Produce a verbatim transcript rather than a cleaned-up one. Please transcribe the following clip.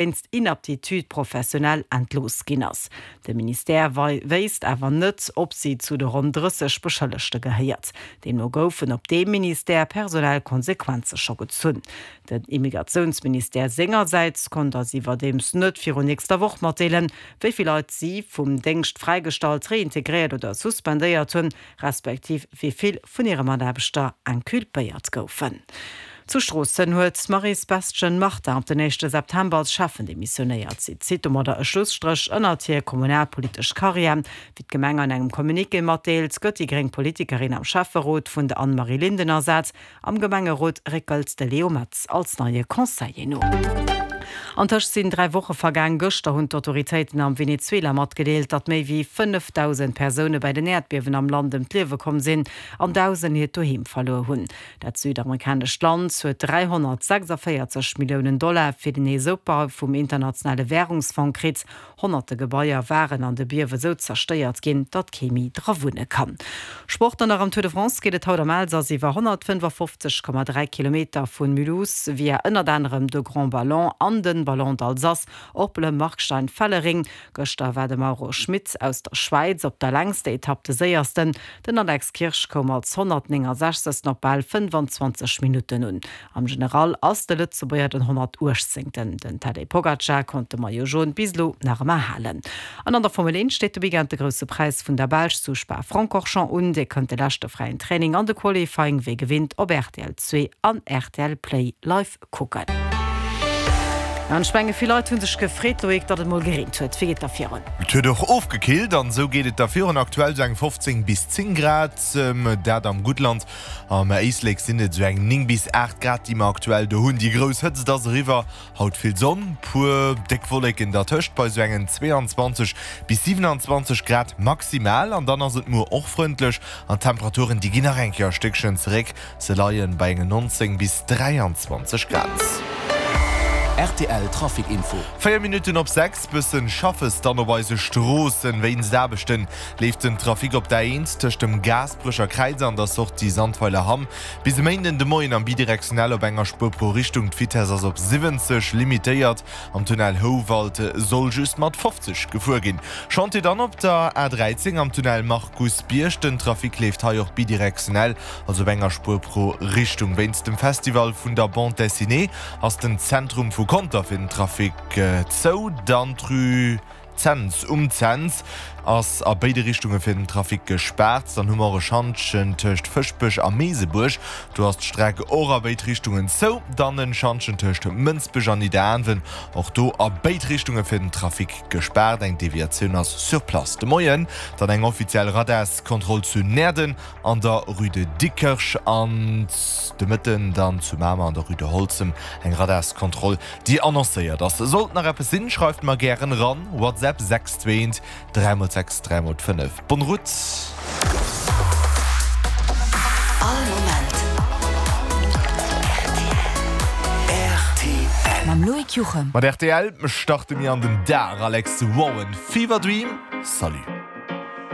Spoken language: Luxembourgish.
wéinst Inaptitude professionnelle entlooss ginn ass. De Ministère wéisst awer net, ob si zu de ronn drësseg Beschëllegte gehéiert. Deemno goufen op deem Ministère personell Konsequenze scho gezunn. Den Immigratiounsministère sengersäits konnt eis iwwerdeems net virun nächster Woch matdeelen, wéi vill Leit si vum Déngscht fräigestallt, reintegréiert oder suspendéiert hunn, respektiv wéi vill vun hire Mataarbechter inculpéiert goufen. Zu Stroossen huet d'Maryse Bestgen-Martin ab den éischte September als Schäffen demissionéiert. Si zitt domadder e Schlusstréch ënnert hir kommunalpolitesch Karriär. Wéi d'Gemeng an engem Communiqué matdeelt, gëtt déi gréng Politikerin am Schäfferot vun der Anne-Marie Linden ersat. Am Gemengerot réckelt de Léo Metz als neie Conseiller no. Antëscht sinn dräi Woche vergaang. Gëschter hunn d'Autoritéiten am Venezuela matgedeelt, datt méi wéi fënnefdausend Persoune bei den Äerdbiewen am Land ëm d'Liewe komm sinn an Dausend hiert Doheem verluer hunn. Dat südamerikanescht Land huet dräihonnertsechsundvéierzeg Milliounen Dollar fir den Neesopbau vum Internationale Wärungsfong kritt. Honnerte Gebaier waren an de Biewe sou zerstéiert ginn, datt kee méi dra wunne kann. Sport An nach am Tour de France geet et haut am Elsass iwwer honnertfënnefafofzeg Komma dräi Kilometer vu Mulhouse via ënnert anerem de Grand Ballon an de Ballon d'Alsace op Le Markstein-Fellering. Gëschter war de Mauro Schmit aus der Schwäiz op der längster Etapp de Séiersten. Den Alex Kirsch koum als honnertnéngensechzegsten op bal fënnfanzwanzeg Minutten un. Am General ass de Lëtzebuerger den honnertuechtzéngten. Den Tadej Pogacar konnt de Maillot Jaune bis elo nach ëmmer halen. An an der Formel eent steet de Weekend de Grousse Präis vun der Belsch zu Spa-Francorchamps un. Dir kënnt de leschte fräien Training an de Qualifying wéi gewinnt op rtl zwee an rtl Play live kucken. An ech menge vill Leit hu sech gefreet, Loïc, datt et mol gereent huet. Wéi geet da virun? Et huet och ofgekillt an esou geet et da virun. Aktuell sou eng fofzéng bis zéng Grad, dat am Guttland. Am Éislek sinn et sou eng néng bis aacht Grad, déi mer aktuell do hunn. Déi grouss Hëtzt ass eriwwer, haut vill Sonn, puer déck Wolleken dertëscht bei sou engen zweeanzwanzeg bis siwenanzwanzeg Grad maximal. An dann ass et muer och frëndlech an d'Temperaturen, déi ginn nach eng Kéier e Stéckchen zeréck, se leie bei engen nonzéng bis dräianzwanzeg Grad. Rtl Trafic Info. Véier Minutten op sechs, bëssen Schaffes dann op eise Stroossen. Wéinst Aarbechten leeft den Trafic op der A eent tëscht dem Gaasperecher Kräiz an der Sortie Sandweiler Hamm bis e Méinden de Moien am Bidirektionell op enger Spuer pro Richtung. D'Vitess ass op siwwenzeg limitéiert. Am Tunnel Houwald soll just mat fofzeg gefuer ginn. Chantier dann op der A dräizéng am Tunnel Markusbierg. Den Trafic leeft hei och bidirektionell, also op enger Spuer pro Richtung. Wéinst dem Festival vun der Bande Dessinée ass den Zentrum vu Conter fir den Trafic zou. Dann d'Rue Cents um Cents ass a béide Richtunge fir den Trafic gespaart. Dann hu mer och e Schantjen tëscht Fëschbech a Meesebuerg, do ass d'Streck och a béid Richtungen zou. Dann en Schantjen tëscht Mënsbech an Nidderaanwen, och do a béid Richtunge fir den Trafic gespaart. Eng Deviatioun ass sur place. De Moien dann eng offiziell Radarskontroll zu Näerden an der Rue de Dikerch an de Mëtten dann zu Mamer an der Rue de Holzem eng Radarskontroll, déi annoncéiert ass. Sollt nach eppes sinn, schreift mer gären eran, WhatsApp sechs zwee eent dräi mol sechs dräi mol fënnef. Bonne route! All Moment rtl. Mam Loïc Juchem. Mat rtl starte mir an den Dag, Alex Warren, Fever Dream, salut!